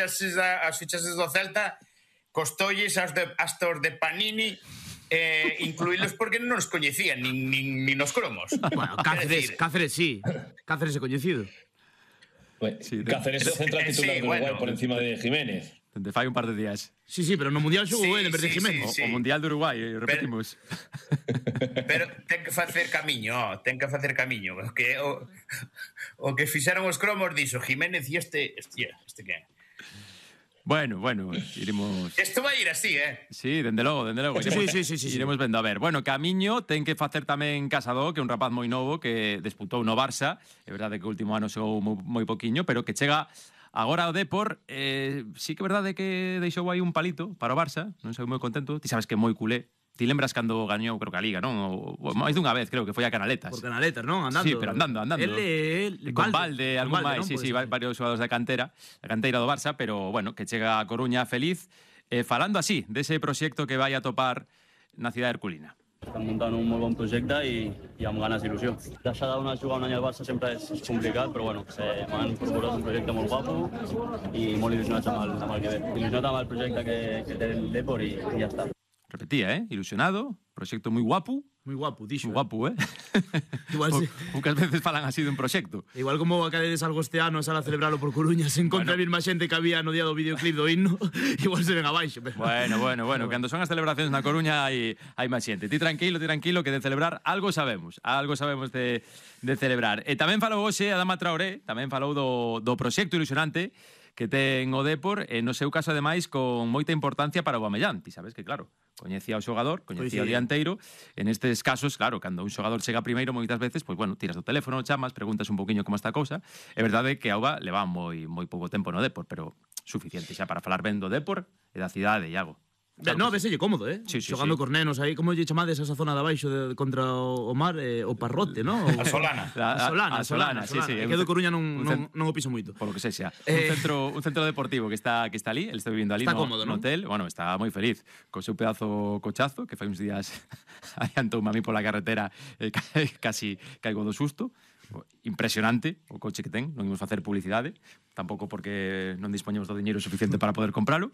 as fichaxes do Celta costolles hasta os de Panini incluílos porque non os coñecían nin os cromos. Bueno, Cáceres sí. Cáceres é coñecido. Cáceres é central titular do Uruguai por encima de Jiménez. Dende fai un par de días. Sí, pero no Mundial xogou en vez de Jiménez. O Mundial de Uruguai, repetimos. Pero ten que facer camiño, o que fixeron os cromos dixo Jiménez e este que? Bueno, iremos... Isto vai ir así, Sí, dende logo. Sí. Iremos vendo. A ver, bueno, Camiño ten que facer tamén Casado, que é un rapaz moi novo que disputou no Barça. É verdade que o último ano xogou moi poquiño, pero que chega agora ao Depor. Sí que é verdade que deixou aí un palito para o Barça. Non sei moi contento. Ti sabes que é moi culé. Ti lembras cando gañou, creo que a Liga, non? Máis dunha vez, creo que foi a Canaletas. Por Canaletas, non? Andando. Sí, pero andando. Con Valde, algún máis, sí, varios xogadores da canteira do Barça, pero, bueno, que chega a Coruña feliz, falando así, dese proxecto que vai a topar na cidade herculina. Estan muntant un molt bon projecte i amb ganes d'il·lusió. Deixar de jugar un any al Barça sempre és complicat, però bueno, m'han proposat un projecte molt guapo i molt il·lusionats amb el que ve. Il·lusionat amb el projecte que té el Depor i ja està. Repetía, ilusionado, proxecto moi guapo. Moi guapo, dixo. Moi guapo, Igual sí. Poucas veces falan así dun proxecto. Igual como acadedes algo este ano sala a celebralo por Coruña sen contra a mesma xente que había no día do videoclip do himno, igual se ven abaixo. Bueno, cando son as celebracións na Coruña hai máis xente. Ti tranquilo, que de celebrar algo sabemos de celebrar. E tamén falou hoxe Adama Traoré, tamén falou do proxecto ilusionante que ten o Depor, e no seu caso, ademais, con moita importancia para o Aubameyang. Ti sabes que, claro, coñecía o xogador, coñecía o dianteiro. En estes casos, claro, cando un xogador chega primeiro, moitas veces, pois, bueno, tiras do teléfono, chamas, preguntas un poquinho como está a cousa. É verdade que Auba leva moi pouco tempo no Depor, pero suficiente xa para falar ben do Depor e da cidade, Iago. Claro, no, veselle cómodo, Sí, xogando cos nenos aí, como lle chamades esa zona de abaixo contra o mar, o Parrote, non? A Solana. A Solana, sí. É que do Coruña non o piso moito. Por lo que sexa. Un centro deportivo que está ali, el está vivindo ali no hotel, bueno, está moi feliz co seu pedazo cochazo, que fai uns días adiantoume a mí pola carretera, casi caigo do susto. Impresionante o coche que ten, non imos facer publicidade, tampouco porque non dispoñemos do diñeiro suficiente para poder compralo.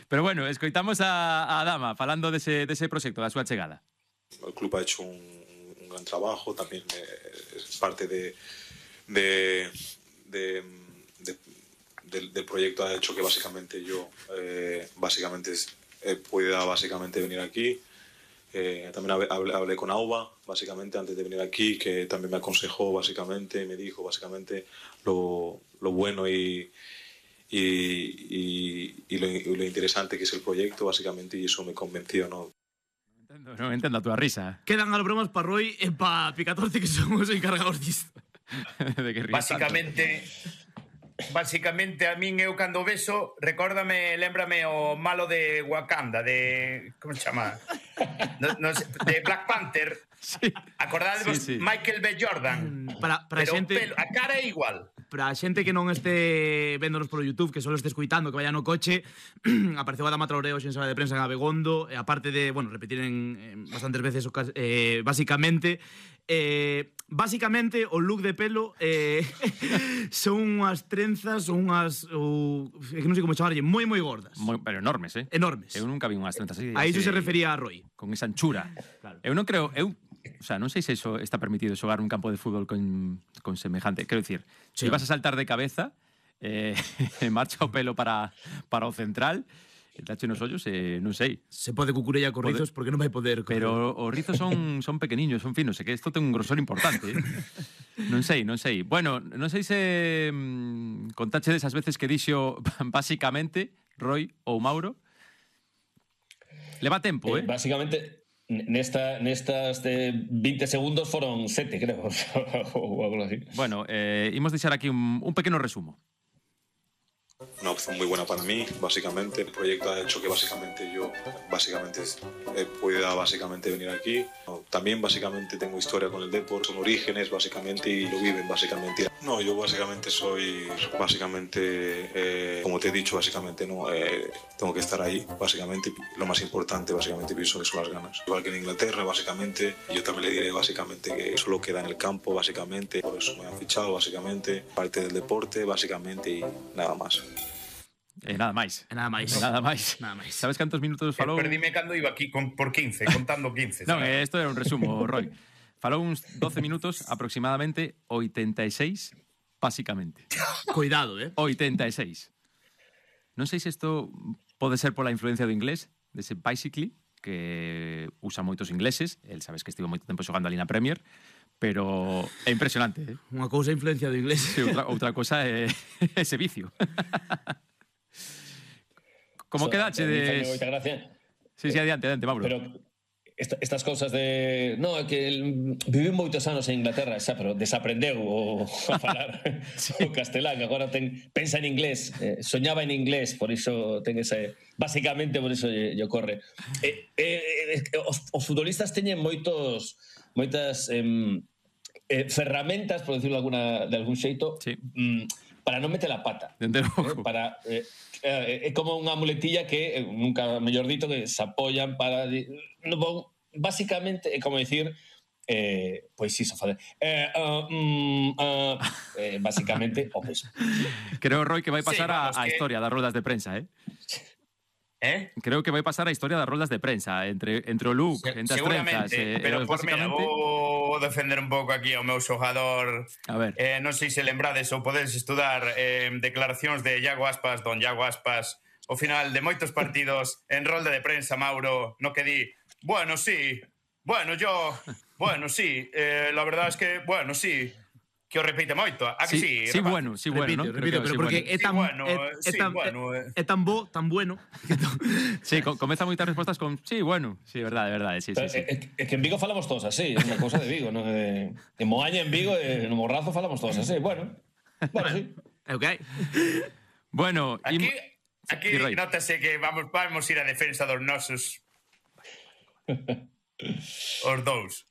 Pero bueno, escoitamos a Adama falando dese proxecto, da súa chegada. El club ha hecho un gran trabajo, también es parte del proyecto, ha hecho que básicamente yo pueda venir aquí. También hablé con Auba, básicamente, antes de venir aquí, que también me aconsejó, básicamente, me dijo, básicamente, lo bueno y lo interesante que es el proyecto, básicamente, y eso me convenció, ¿no? Non entendo a túa risa. Quedan as bromas para Roy e para Picatorte, que son os encargados disto. De que Básicamente, a min eu cando beso, lémbrame o malo de Wakanda, de... Como se chama? De Black Panther. Sí. Acordadevos, sí. Michael B. Jordan. Para pero xente, a cara é igual. Para a xente que non este véndonos polo YouTube, que só este escuitando, que vaya no coche, apareceu Adama Traoré hoxe en sala de prensa en Abegondo, e aparte de, bueno, repetir en bastantes veces, básicamente o look de pelo son unhas trenzas, que non sei como chamarlle, moi gordas. Pero enormes, Enormes. Eu nunca vi unhas trenzas así. A iso se refería a Roy. Con esa anchura. Claro. Eu non creo... O sea, non sei se eso está permitido xogar un campo de fútbol con semejante. Quero dicir, se vas a saltar de cabeza, marcha o pelo para o central, dache nos ollos, non sei. Se pode cucurella con rizos porque non vai poder correr. Pero os rizos son pequeniños, son finos, que isto ten un grosor importante. Non sei. Bueno, non sei se contache desas veces que dixo basicamente Roy ou Mauro. Leva tempo, Básicamente, nestas de 20 segundos foron 7, creo, ou algo así. Bueno, imos deixar aquí un pequeno resumo. Una opción muy buena para mí, básicamente. El proyecto ha hecho que básicamente yo pueda venir aquí. También básicamente tengo historia con el Depor, son orígenes básicamente y lo viven básicamente. No, yo básicamente soy, como te he dicho, básicamente no tengo que estar ahí, básicamente. Lo más importante básicamente pienso que son las ganas. Igual que en Inglaterra, básicamente, yo también le diré básicamente que solo queda en el campo, básicamente. Por eso me han fichado, básicamente, parte del deporte, básicamente, y nada más. Nada máis. Nada máis. Nada máis. Nada máis. Sabes cantos minutos falou? Perdime cando iba aquí por 15, contando 15. Non, sabes? isto era un resumo, Roy. Falou uns 12 minutos, aproximadamente 86, básicamente. Cuidado, 86. Non sei se isto pode ser pola influencia do inglés, dese basically, que usa moitos ingleses. El sabes que estivo moito tempo xogando ali na Premier, pero é impresionante, Unha cousa é influencia do inglés. Sí, outra cosa é ese vicio. Como quedache de... Sí, adiante, Mauro. Pero estas cousas de... No, é que viviu moitos anos en Inglaterra, xa, pero desaprendeu a falar o castelán. Agora pensa en inglés, soñaba en inglés, por iso ten ese... Básicamente, por iso lle ocorre. Os futbolistas teñen moitas ferramentas, por decirlo de algún xeito, sí, para non meter a pata. É como unha muletilla que, nunca mellor dito, que se apoyan para... Básicamente é como dicir... pois iso, fazer... básicamente, o mesmo. Creo, Roy, que vai pasar Sí, a historia das roldas de prensa, Creo que vai pasar a historia das roldas de prensa entre o look, entre as trenzas. Pero por mira, vou defender un pouco aquí ao meu xogador. A ver. Non sei se lembrades ou podedes estudar declaracións de Iago Aspas, don Iago Aspas, ao final de moitos partidos en rolda de prensa, Mauro, no que di, bueno, sí, la verdad es que, bueno, sí, que o repite moito, a que sí? Sí, bueno, Repito, ¿no? pero porque é tan bo, tan bueno. Sí, comeza moitas respostas con sí, bueno, sí, verdade, sí. É que en Vigo falamos todos así, é unha cousa de Vigo, non? En Moaña, en Vigo, no Morrazo falamos todos así, bueno, sí. Ok. Bueno, aquí nótase que vamos ir a defensa dos nosos os dous.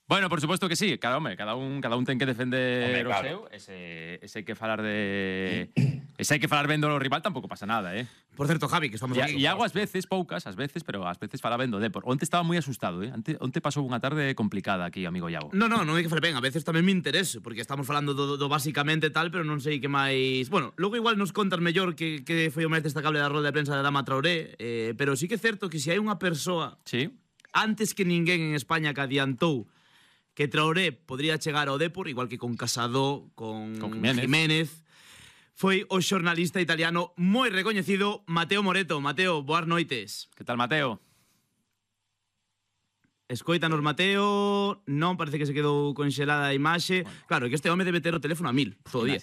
Bueno, por supuesto que sí, cada un ten que defender o seu, ese hai que falar de ese hai que falar ben do rival, tampouco pasa nada, Por certo, Javi, que estamos aquí. E hago ás veces, poucas, pero ás veces fala ben do Depor. Onte estaba moi asustado, Onte pasou unha tarde complicada aquí, amigo Iago. Non é que fale ben, a veces tamén me interese, porque estamos falando do basicamente tal, pero non sei que máis... Bueno, logo igual nos contas mellor que foi o máis destacable da rolda de prensa de Adama Traoré, pero sí que é certo que se hai unha persoa antes que ninguén en España que adiantou que Traoré podría chegar ao Depor, igual que con Casado, con Jiménez, foi o xornalista italiano moi recoñecido Mateo Moreto. Mateo, boas noites. Que tal, Mateo? Escoítanos, Mateo. Non, parece que se quedou conxelada a imaxe. Bueno. Claro, que este home debe ter o teléfono a 1000 todo o día.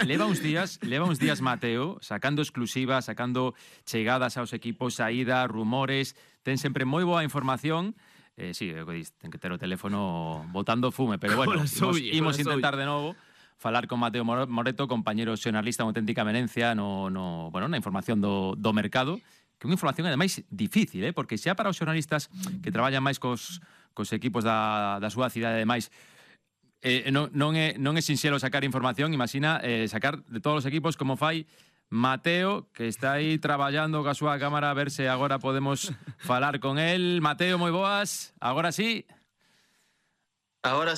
Leva uns días, Mateo, sacando exclusivas, sacando chegadas aos equipos, saídas, rumores. Ten sempre moi boa información. Sí, ten que ter o teléfono botando fume, pero bueno, imos intentar de novo falar con Mateo Moreto, compañero xornalista, unha auténtica eminencia na información do mercado, que é unha información ademais difícil, porque xa para os xornalistas que traballan máis cos equipos da súa cidade, ademais non é sinxelo sacar información, imagina sacar de todos os equipos como fai Mateo, que está aí traballando coa súa cámara, a ver se agora podemos falar con él. Mateo, moi boas, agora sí. Ahora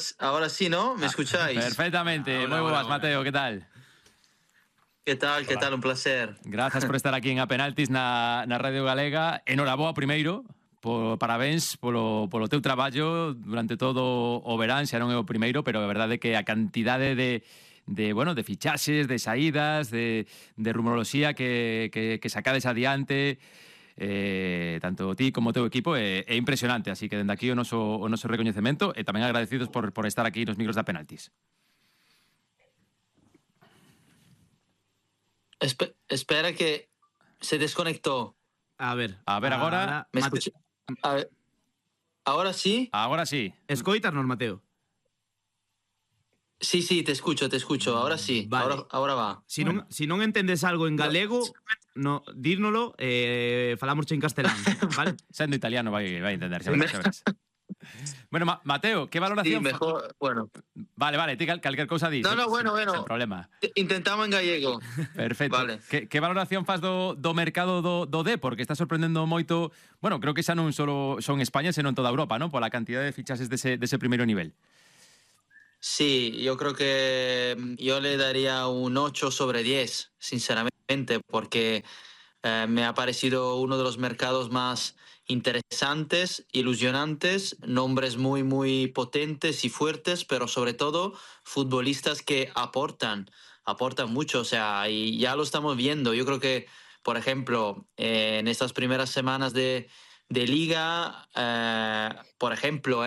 sí, ¿no? ¿Me escucháis? Perfectamente, moi boas, Mateo, que tal? ¿Qué tal? ¿Qué tal? Un placer. Grazas por estar aquí en A Penaltis na Radio Galega. Enhoraboa primeiro, parabéns polo teu traballo durante todo o verán, xa non é o primeiro, pero a verdade é que a cantidade de fichaxes, de saídas, de rumoroloxía que sacades adiante, tanto ti como o teu equipo, é impresionante, así que dende aquí o noso recoñecemento e tamén agradecidos por estar aquí nos micros da Penaltis. Espera que se desconectó. A ver agora. ¿Me escucha? A ver. ¿Ahora sí? Ahora sí. Escoítanos, Mateo. Sí, te escucho. Ahora sí, vale. Ahora va. Si non entendes algo en galego, dírnolo, falamos en castelán, vale? Sendo italiano vai entender, xa verás. Bueno, Mateo, que valoración... Sí, mejor, bueno. Vale, ti calquer cousa dis. No, bueno. Sin problema. Intentamos en gallego. Perfecto. Vale. Que valoración faz do mercado do Depor, que está sorprendendo moito... Bueno, creo que xa non solo son España, senón toda Europa, ¿no? Pola cantidad de fichajes dese primeiro nivel. Sí, yo creo que yo le daría un 8 sobre 10, sinceramente. porque me ha parecido uno de los mercados más interesantes, ilusionantes, nombres muy, muy potentes y fuertes, pero sobre todo futbolistas que aportan mucho, o sea, y ya lo estamos viendo. Yo creo que, por ejemplo, en estas primeras semanas de liga, por ejemplo,